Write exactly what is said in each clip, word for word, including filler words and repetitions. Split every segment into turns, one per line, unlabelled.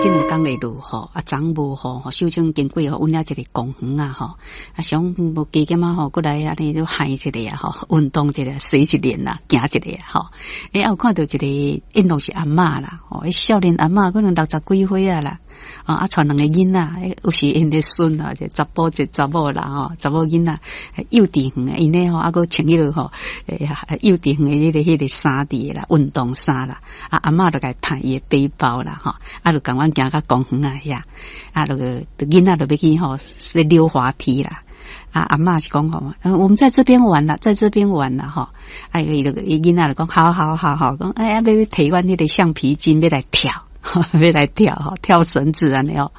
這兩工咧落雨，啊，昨無雨吼，小清經過吼，阮遐一個公園啊吼，啊想無加減仔吼，過來按呢都行一下啊吼，運動一下，洗一練啦，行一下吼。欸，有看著一個應當是阿嬤啦，吼，少年阿嬤可能六十幾歲啊啦，啊，帶兩個囡仔，有是𪜶的孫啊，一個查埔一個查某啦吼，查某囡仔幼稚園的，𪜶咧吼，啊閣穿彼個吼，欸，幼稚園的彼個彼個衫佇啦，運動衫啦，啊，阿嬤就共伊拍伊的背包啦，吼，啊，就共阮行到公園仔遐，啊，就囡仔就欲去吼，是溜滑梯啦。啊，阿嬤是講吼，我們在這邊玩啦，在這邊玩啦，吼。啊，伊就伊囡仔就講，好好好好，講哎，欲提阮彼個橡皮筋，欲來跳，欲來跳，吼，跳繩子按呢哦。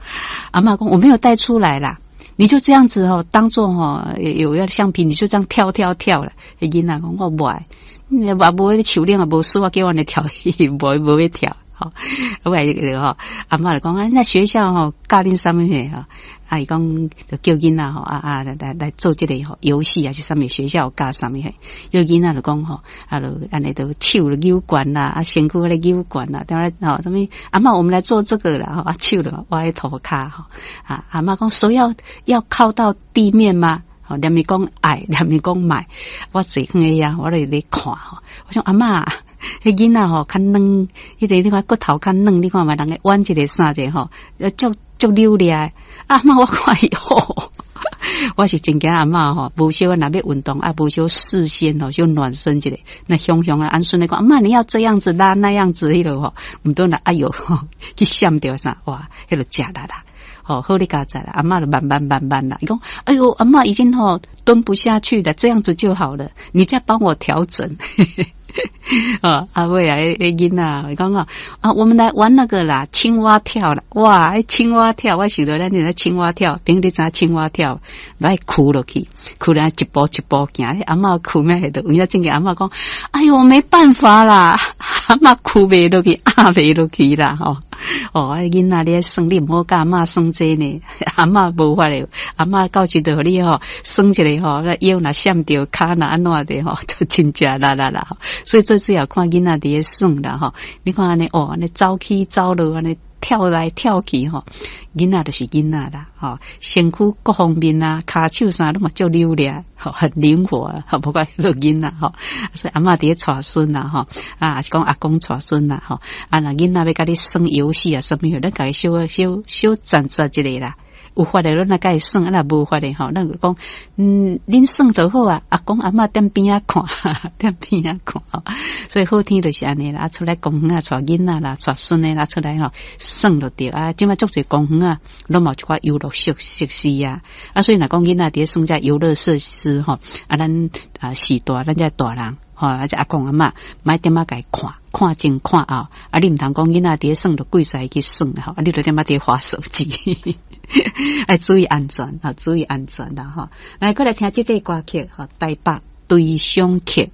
阿嬤講，我沒有帶出來啦，你就這樣子吼，當做吼有要橡皮，你就這樣跳跳跳啦。彼囡仔講，我無愛，也無彼樹頂也無書啊，叫阮來跳，無無欲跳。吼，我來吼，阿嬤就講啊，那學校吼教恁啥物吼？啊，伊講就叫囡仔吼，啊啊來來來做這個吼遊戲還是啥物學校教啥物嘿？有囡仔就講吼，啊就按呢就手就扭懸啦，啊身軀咧扭懸啦，對來吼，啥物阿嬤，我們來做這個啦，吼啊手就倚佇塗跤吼，啊阿嬤講手要要靠到地面嗎？吼，連伊講愛，連伊講莫，我坐囥遐，我咧咧看吼，我想阿嬤。彼囡仔吼較軟，彼個你看骨頭較軟，你看覓人會彎一下啥者吼，足足扭掠。阿嬤我看伊吼，我是真驚阿嬤吼，無小若欲運動啊，無小事先吼小暖身一下，那雄雄啊，按孫咧講阿嬤你要這樣子拉那樣子彼落吼，毋通若哎喲去閃著啥哇，彼落食力啦。吼，好你佳哉啦，阿嬤就慢慢慢慢啦。伊講，哎喲，阿嬤已經吼蹲不下去了，這樣子就好了，你再幫我調整。啊，阿尾啊，彼囡仔，伊講啊，啊，我們來玩那個啦，青蛙跳啦，哇，青蛙跳，我想著咱那青蛙跳，朋友你知影青蛙跳，來跍落去，跍來一步一步行，阿嬤跍咩度？有影真個阿嬤講，哎喲，沒辦法啦，阿嬤跍袂落去，壓袂落去啦，吼。哦，啊，囡仔你耍，你毋好佮阿嬤耍這呢，阿嬤無法的，阿嬤到時就予你吼耍一下吼，腰若閃著，跤若按怎的吼，就真食力啦啦。所以這次也看囡仔佇咧耍啦吼，你看按呢哦，按呢走起走落按呢跳來跳去吼，囡仔就是囡仔啦，吼，身軀各方面啊，跤手啥攏嘛足溜掠，吼，很靈活啊，無怪做囡仔吼。所以阿嬤佇咧帶孫啦，吼，啊，是講阿公帶孫啦，吼，啊，若囡仔欲佮你耍遊戲啊，啥物，咱共伊小小小暫時一下啦。有法的，咱來共伊耍；啊，若無法的吼，咱就講，嗯，恁耍就好啊。阿公阿嬤踮邊仔看，踮邊仔看。所以好天就是按呢啦，出來公園啊，帶囡仔啦，帶孫的啦，出來吼耍就對啊。這擺足濟公園啊，攏嘛有一寡遊樂設設施啊。啊，所以若講囡仔佇咧耍這遊樂設施吼，啊，咱啊序大，咱這大人吼，啊，這阿公阿嬤，莫踮仔共伊看，看前看後。啊，你毋通講囡仔佇咧耍，就跪踅去耍吼，啊，你就踮仔佇咧滑手機。愛注意安全，吼，注意安全啦，吼。來，閣來聽這塊歌曲，吼，台北隨想曲。